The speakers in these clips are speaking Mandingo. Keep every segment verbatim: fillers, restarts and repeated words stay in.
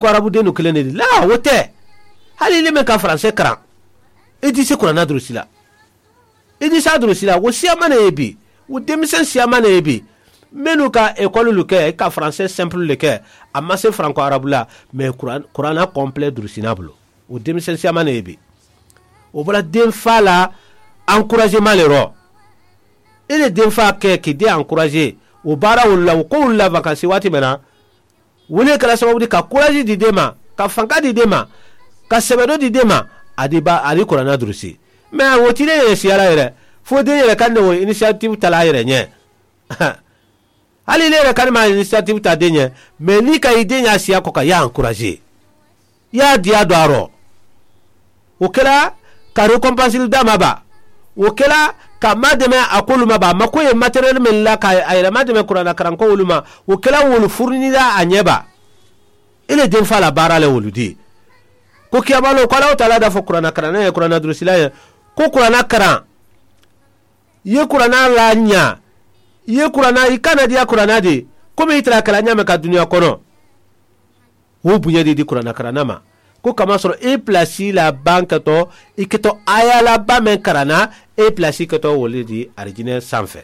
ko arabu dennu keleŋ ne di laa wo te. Hali i le meŋ ka faranse karaŋ i disi kuraana durusi la. I disi a durusi la wo siyaama ne ye bi. Wo denmisɛn siyaama ne ye bi. Mennu ka ekolulu ke ka faranse senpulu le ke a ma se faranko arabu la. Mais kuraana konpele durusi naa bulu. Wo denmisɛn siyaama ne ye bi. Wo bala denfaa la ankurasema le rɔ. I le denfaa ke k'i den ankurase wo baara wolu la wo ko wolu la vakansi waati meŋ na. Wolu ye kela sababu di ka kuraasi di den ma, ka fanka di den ma, ka sebedo di den ma. A di ba a di kuraana durusi. Mais wo ti den yere siyala yere fo den yere ka ne wo inisiyatiwu tala yere ɲɛ. Hali ne yere ka ne ma inisiyatiwu ta den ɲɛ. Mais ni ka i den ɲa siya ko ka ya ankurase ya diya do a rɔ. Wo kela ka rekonpansili dama ba. Wo kela ka ma deme a kolu ma ba ma ko ye materiel men la ka a yere ma deme kuraana karanko wolu ma. Wo kela wolu furunila a ɲɛ ba. I le denfa la baara le wolu di. Ko kiyamalo ko alaw taala da fo kuraana karanna ye kuraana durusila ye ko kuraana karan. I ye kuraana la ɲa. I ye kuraana i kana diya kuraana di. Komi i tara kala ɲaame ka duniya kono. Wo buɲa di di kuraana karanna ma. Ko kamasɔrɔ i pilasi la ban keto i keto aya la ba meŋ karanna. I pilasi keto wolu di arijinɛ sanfɛ.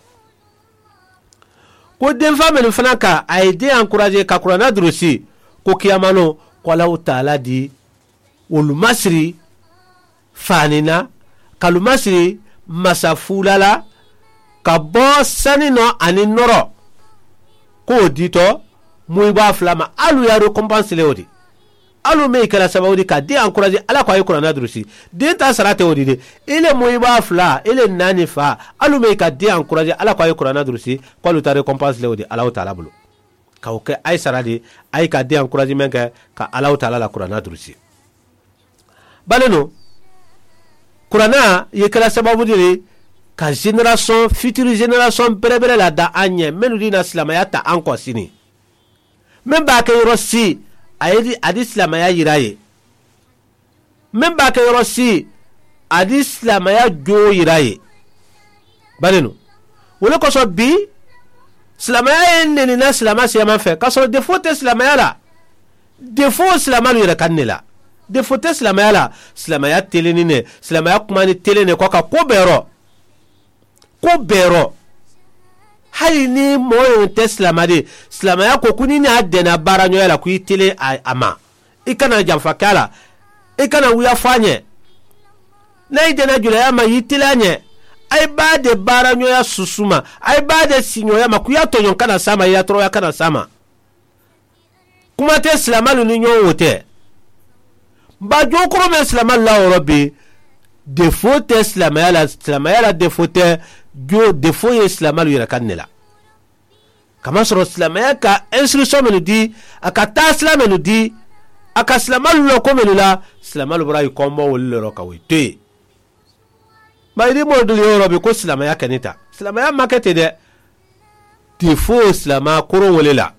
Ko denfa mennu fana ka a ye den ankurase ka kuraana durusi. Ko kiyamano ko alaw taala di wolu masiri faani na ka lu masiri masa fuula la. Ka bo sani nɔ ani nɔrɔ ko wo diitɔ. Muyiba fula ma alu ye rekonpansi le wo di. Alu meŋ i kela sababu di ka den ankurase ala ko a ye kuraana durusi. Den ta sara te wo di de. I le muyiba fula i le naani fa alu meŋ i ka den ankurase ala ko a ye kuraana durusi. Ko alu ta rekonpansi le wo di alaw taala bulu. Ka wo ke a ye sara di a ye ka den ankurase meŋ ke ka alaw taala la kuraana durusi. Bale no kuraana ye kela sababu di le ka zenerasɔn fitiri zenerasɔn berebere la da an ɲɛ mennu di na silamaya ta an kɔ sini. Meŋ b'a ke yɔrɔ si a ye di a di silamaya yira ye. Meŋ b'a ke yɔrɔ si a di silamaya joo yira ye. Bale no wo le kosɔn bi silamaya ye nenina silama siyaman fɛ ka sɔrɔ defo te silamaya la. Defo silamalu yere kan ne la. Defo te silamaya la. Silamaya teleni ne silamaya kumani tele ne ko a ka ko bɛɛ rɔ. Ko bɛɛ rɔ. Hali ni mɔɔ yoŋ te silama de silamaya ko ko ni ne a dɛna baaraɲɔgɔnya la ko i tele a ma. I kana janfa ke a la. I kana wuya fo a ɲɛ. N'a i dena julaya ma i tele a ɲɛ. A i b'a de baaraɲɔgɔnya susuma. A i b'a de siɲɔgɔnya ma ko i ya tɔɲɔn kana s'a ma i ya tɔrɔya kana s'a ma. Kuma tɛ silamalu ni ɲɔgɔn wo tɛ. Ba jokɔrɔ bɛ silamalu la wɔrɔ bi. Defo tɛ silamaya la silamaya la defo tɛ. Jo defo ye silamalu yɛrɛ ka ne la. Kamasɔrɔ silamaya ka instruction mennu di a ka taasila mennu di a ka silamalu lɔ ko mennu la. Silamalu bɔra i kɔnbɔ wolu le rɔ ka wo to yen. Bayiri mɔduli yɔrɔ bi ko silamaya kɛ ne ta silamaya ma kɛ ten dɛ. Te fo silama koro wele la.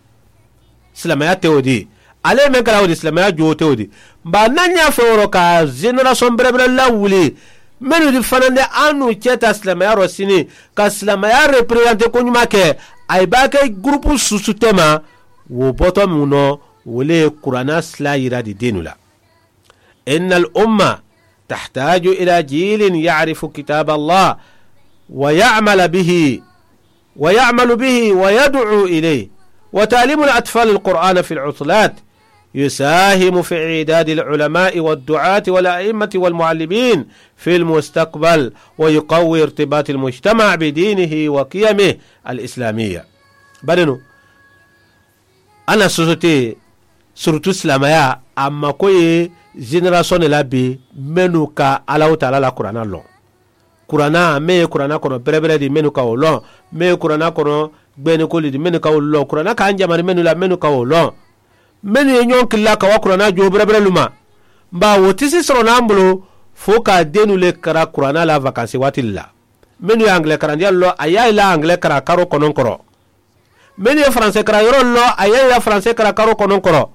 Silamaya tɛ o di ale ye men kɛra o di silamaya jo tɛ o di. Ba na y'a fɛ yɔrɔ ka génération bɛrɛbɛrɛ lawuli. Mennu di fana de an n'u cɛ ta silamɛya rɔ sini ka silamɛya représenter ko ɲuman kɛ. A ye b'a kɛ groupe susu tɛ ma. Wo bɔtɔ mun nɔ wo le ye kuranna sila yira di den la. Inna al umma tahtaju ila jilin ya'rifu kitab Allah wa ya'mala bihi ويعمل به ويدعو إليه وتعليم الأطفال القرآن في العطلات يساهم في إعداد العلماء والدعاة والأئمة والمعلمين في المستقبل ويقوي ارتباط المجتمع بدينه وقيمه الإسلامية. Bari no, a na sosote surutu silamaya a mako ye génération de la bi mennu ka Alahu taala la kuranna lɔn. Kuranna meŋ ye kuranna kono berebere di mennu ka wo loŋ. Meŋ ye kuranna kono gbeenikolu di mennu ka wo loŋ kuranna ka a jamari mennu la mennu ka wo loŋ. Mennu ye ñoŋ killa ka wa kuranna joo bereberelu ma. Baa wo tisi soronaŋ bulu fo ka a dennu le kara kuranna la vakansi waati la. Mennu ye angile karandiyalu loŋ a ye a yi la angile kara karo konoŋ koro. Mennu ye faranse kara yɔrɔ lɔ a ye ya faranse kara karo kɔnɔn kɔrɔ.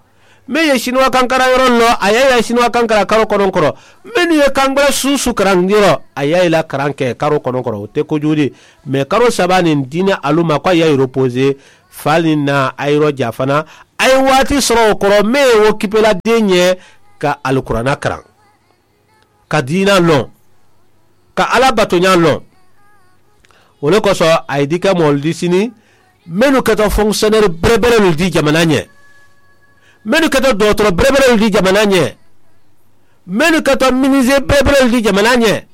Mennu ye sinuwa kankara yɔrɔ lɔ a ye ya sinuwa kankara karo kɔnɔn kɔrɔ. Mennu ye kangbara susu karandi yɔrɔ a ye la karan kɛ karo kɔnɔn kɔrɔ o tɛ kojugudi. Mais karo saba nin diinɛ alu ma ko a ye reposer fali na a yɔrɔ ja fana. a ye waati sorowo koro mee wo kipela deŋ ye ka alukuraana karaŋ, ka diina loŋ, ka alla batoñaa loŋ. Wo le koso a ye dikka moolu di sini mennu keta fonkisiyoneri bereberelu di jamana ñe, mennu keta dootoro bereberelu di jamana ñe, mennu keta minise bereberelu di jamana ñe,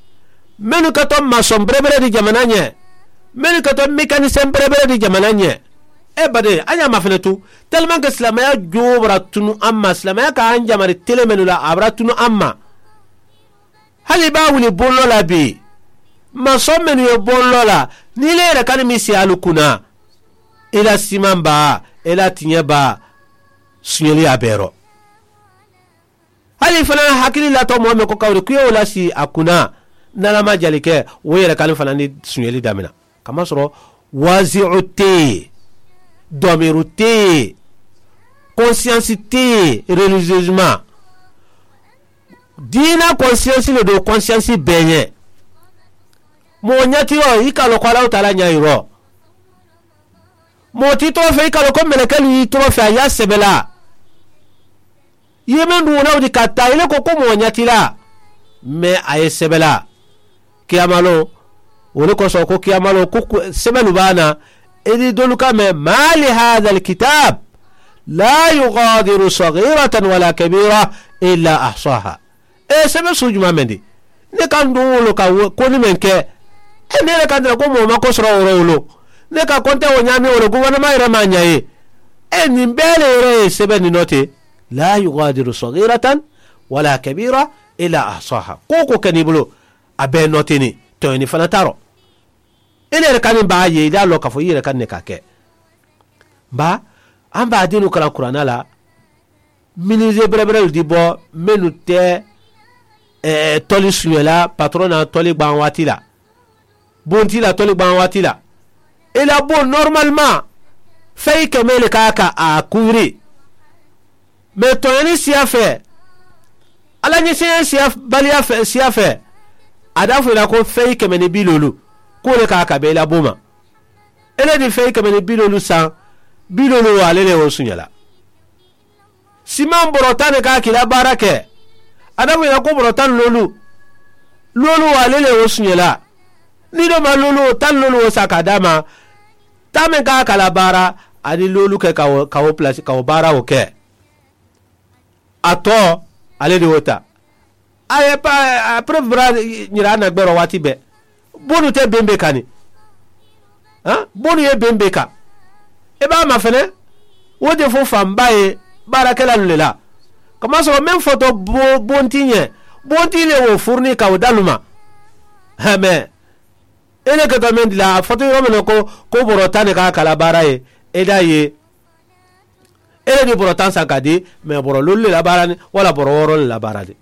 mennu keta masoŋ berebere di jamana ñe, mennu keta mekanisiyeŋ berebere di jamana ñe. E bade a ñaama fene tu, telimanke silaamaya joo bara tunu a ma silaamaya ka a ñamari tele mennu la a bara tunu a ma. Hali i be a wuli boŋ loo la bii, masoŋ mennu ye boŋ loo la, niŋ i la yere kani misiyaalu kuna, i la simaŋ baa, i la tiñe baa, suñeli ye a beero. Hali i fanaa hakili laata moo meŋ ko kawuri kuyewo la sii a kuna, niŋ a la maŋ jali ke, wo yere kani fanaa ni suñeli damina. Kamasoro waasiyo te ye, domiiru te ye, konsiyansi te ye, reliziyezimaa. Diina konsiyansi le do konsiyansi bee ñe. Moo ñatiroo i ka a loŋ ko allahu taala ñaayiroo. Moo ti i too fee i ka a loŋ ko melekelu ye i too fee a ye a sebelaa. I ye meŋ duŋ wo naŋ wo ti ka taa i le ko ko moo ñatilaa. Mais a ye sebelaa. Kiyaamaloo wo le koso ko kiyaamaloo ko sebelu be a na. I di doolu ka me maali haada alkitaabu laa yugaadiru sagiiratan wala kabiira illa ahsaaha. E sebe suu jumaa meŋ di? Ne ka n duŋ wo le ka koni meŋ ke. E ne le ka n tara ko moo ma ko soro woro wolo ne ka konte wo ñaami wo le guwanamaa yere maa ña ye. E niŋ bee le yere ye sebe ni noo te laa yugaadiru sagiiratan wala kabiira illa ahsaaha ko ko ke ni bulu. A bee noo te ni toyoni fana taro. I le yere kani baa ye i daa loo ka fo i yere kani ne ka ke. Baa an baa dinu kala kuraana la. Minise bereberelu di bo mennu te toli suñela patorona toli gbaŋ waati la. Bonti la toli gbaŋ waati la. I la bo normalement feyi keme le ka ka a kuuri. Mais toyani siya fe ala ñiseya siya baliya fe siya fe. A da fo i la ko feyi keme ni bilolu ko le ka ka be i la bo ma. I le ni feyi keme ni bilolu san bilolu wo ale le wo suñela. Simaŋ boro taŋ ne ka a ke i la baara ke. A da fo i la ko boro taŋ loolu loolu wo ale le wo suñela. Ni do ma loolu wo taŋ loolu wo sa ka a da ma. Taŋ meŋ ka a ka a la baara a ni loolu ke ka wo ka wo pulasi ka wo baara wo ke. A too ale de wo taa. A ye pa a pere bura ñira a na gberoo waati bee. Bonu te bembe kani. Bonu ye bembe ka i be a ma fene. Wo de fo famba ye baarakelalu le la. Kama soro meŋ foto bonti ñe bonti le wo furuni ka wo daluma. Heme i le keto meŋ dila a foto yoro mene ko ko boro tani ka kala baara ye. I da ye i le di boro tan sanka di. Me boro lolu le la baara ni wala boro woro le la baara di.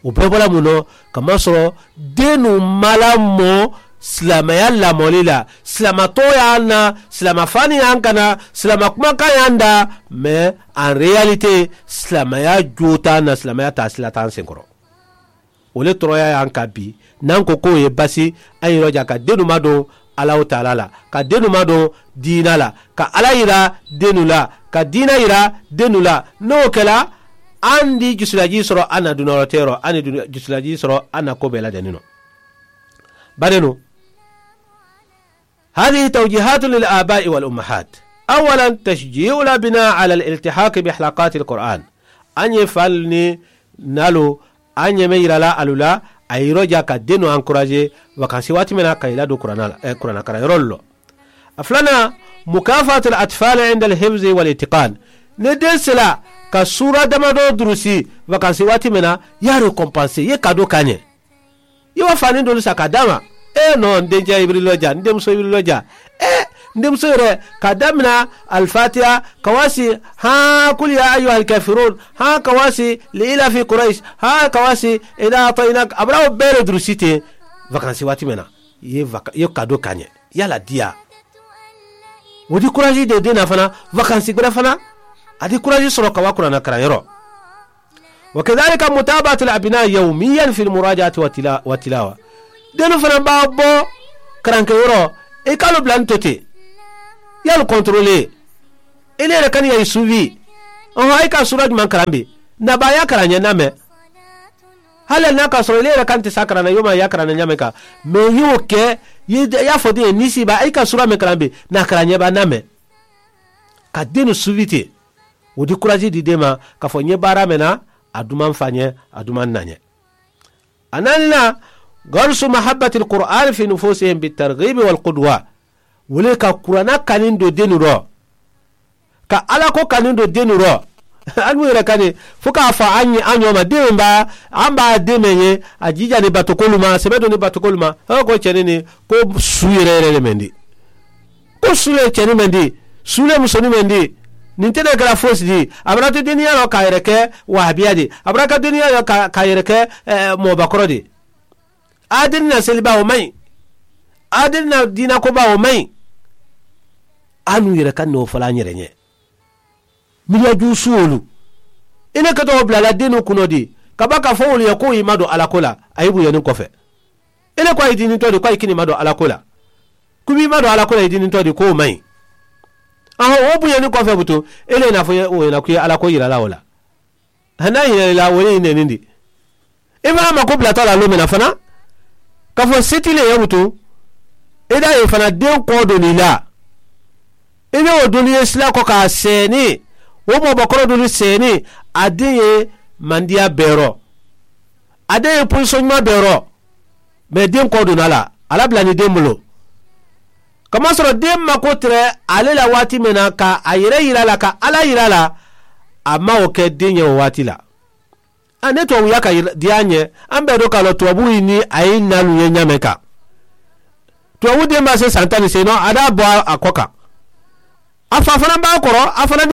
Wo bee bola muŋ no? Kamasoro denu mala moo silaamaya lamoli la. Silaama tooyaa na silaama fani yaŋ kana silaama kumakaa yaŋ da. Mais en réalité silaamaya jootaa na silaamaya taa sila taa n senkoro. Wo le toroyaa yaŋ ka bi naŋ ko ko wo ye basi. A ye i roja ka denu madoŋ allahu taala la ka denu madoŋ diina la ka alla yira denu la ka diina yira denu la. Niŋ wo ke la a ndi jusulajii soro a na dunooro teero a ni jusulajii soro a na ko bee la deni no. Bari nu hadihi tawjihaatu lil abaa'i wal ummahaat. Awalan tashjii'u labinaa ala al iltihaaki bi halakaati al kur'aan. A ñe fal ni nalu a ñeme yira la alu la. A yiro ja ka denu ankuraaze wakansi waati mena ka i la du kuraana karaŋ yoroolu lo. A fulana mukaafaatu al atfaali inda al hibzi wal itiqaan. Ni den sila ka suura damadoo durusi wakansi waati mena ye a rekompanse ye ka do ka ñe. Ye wa faani doolu sa ka daama. Ee noo n dencee ibiriiloo ja n demusoo ibiriiloo ja. Ee n demusoo yere ka damina alfaatiya ka waasi haa kuli ya ayyuha alkafiruun haa ka waasi li ila fi kurayisi haa ka waasi ina atayina ka abura wo beere durusi te. Vakansi waati mena ye ye ka do ka ñe. Yalla diya wo di kuraasi de dena fana. Vakansi gbere fana a di kuraasi soro ka wa kuraana karaŋ yoro. Wa kadalika mutaabaatul abinaa yawmiyan fil muraajaati wa tilaawa. Denu fana baa bo karanke yoro i ka alu bula n tote. Ye alu kontrole. I le yere kani ya i suufi. Ɔhɔ a i ka suura juman karan bi? Na ba ya karan ye na me. Hala na ka soro i le yere kani te sa karan na yo ma ya karan na ɲame ka me yo ke. Ya fo de ni si ba a i ka suura me karan bi? Na karan ye ba na me. Ka denu suufi te. Wo di kurazi di de ma ka fo nye bara me na. A duman fa nye a duman na nye. A nani na. Garisu mahabbatil kur'ani fi nufusi him bi targibi wal kuduwa. Wuli ka kurana kani do denu do. Ka alako kani do denu do. An wuli kani fo ka fa an ye an yoma denu ba an ba deme ye. A jija ni batukolu ma sebe do ni batukolu ma. Ko ceni ni ko su yere yere de mendi. Ko su le ceni mendi. Su le musoni mendi. Ni te de kala fosi di. A bara te deniya lo ka yere ke wahabiya di. A bara ka deniya lo ka yere ke. Mo bakoro di. Adini na seli ba wo mayi. Adini na dina ko ba wo mayi. Anu yere kan no fala nyere nye. Miliya juusuwolu. I ne kato wo bula la dinu kuno di. Ka ba ka fo wolu ye ko i ma do alako la. A yi buyeni kofe. I ne ko a yi dini to di ko a yi kini ma do alako la. Kubi i ma do alako la i dini to di ko mayi. Aho wo buyeni kofe butu. I ne na fo ye wo ye na kuye alako yira la wo la. Hana hinɛ la wole i nɛni di. I fana mako bilatɔ la lomina fana. Ka fo seti le ye wutu. I da ye fana den kɔ doni la. I be wo doni ye sila kɔ ka sɛni. Wo mɔ bɔkɔrɔ doni sɛni. A den ye mandiya bɛrɔ. A den ye position ɲuman bɛrɔ. Mɛ den kɔ donna la. Ala bila ni den bolo. Kamasɔrɔ den mako tɛrɛ ale la waati min na ka a yɛrɛ yira la ka ala yira la. A ma o kɛ den ye o waati la. A ne tubabuya ka diya ɲɛ. An bɛɛ don k'a lɔ tubabu ni a ye nalu ye ɲamɛ kan. Tubabu den ma se san tan ni sen nɔ a d'a bɔ a kɔ kan. A fa fana b'a kɔrɔ a fana.